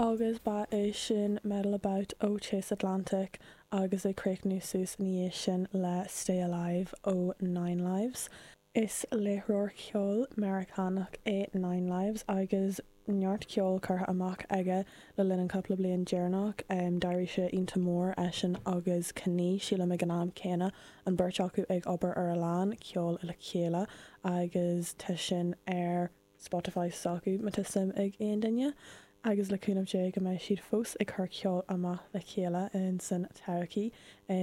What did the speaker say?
Agus ba é sin Meddle About ó Chase Atlantic agus ag críochnú suas ina dhiaidh sin le Stay Alive ó Nine Lives. Is láithreoir ceoil Meiriceánach é Nine Lives agus neart ceoil curtha amach aige le linn an cúpla bliain deireanach. D'éirigh sé iontach mór, eisean agus Knee, sílim ag an am céanna, an beirt acu ag obair ar a lán ceoil le chéile agus tá sin ar Spotify s'acu má tá suim ag aon duine, agus le cúnamh Dé go mbeidh siad fós ag cur ceol amach le chéile in san todhchaí.